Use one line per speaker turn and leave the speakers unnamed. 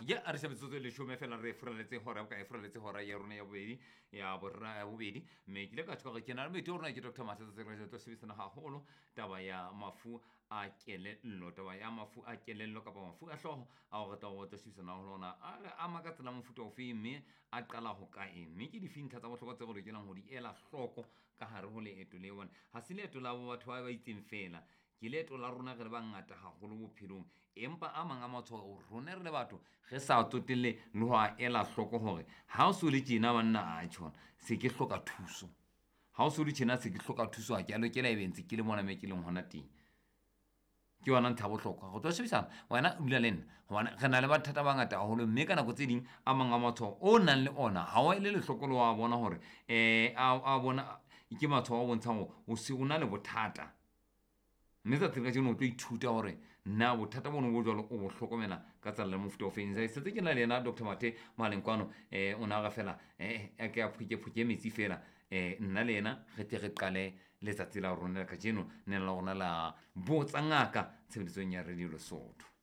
Ya a re se metsotso e leshome fela re furaletse hora boka e furaletse hora ya rona ya bobedi ya borra ya bobedi. Mme ke ile ka tjho hore ke na le moeti wa rona ke Dr. Mathe tsatsing la tlo sebedisana haholo taba ya mafu a kelello, taba ya mafu a kelello kapa mafu a hlooho ao re tla o tlo sebedisana haholo ona a re ama ka tsela mofuta ofe, mme a qala ho kae, mme ke dife ntlha tsa bohlokwa tse re lokelang ho di ela hloko ka hare ho leeto leo. Hobane ha se leeto la batho ba ba itseng fela, ke leeto la rona re le bangata haholo bophelong. Empa a mang a matshwao rona re le batho re sa tsotelle le ho a ela hloko hore ha o so le tjena banna, a tjhona se ke hloka thuso. Ha o so le tjena se ke hloka thuso, ha ke a lokela ebe ntse ke le mona me ke leng hona teng. Ke yona ntlha ya bohlokwa re tlo shebisana wena o dula le nna hobane re na le mathata a mangata haholo, mme ka nako tse ding a mang a matshwao o nang le ona ha o ele lehloko le wa bona hore a bona ke matshwao a bontshang hore o se o na le bothata. Mme tsatsing la kajeno o tlo ithuta hore na bothata bono bo jwalo o bo hlokomela ka tsela le mofuta o feng. Sentse ke na le yena Dr Mathe mohaleng kwano, o na re fela a ke a phuke metsi fela, nna le yena re tle re qale letsatsi la rona la kajeno nena la rona la Botsa Ngaka tshebeletsong ya Radio Lesotho.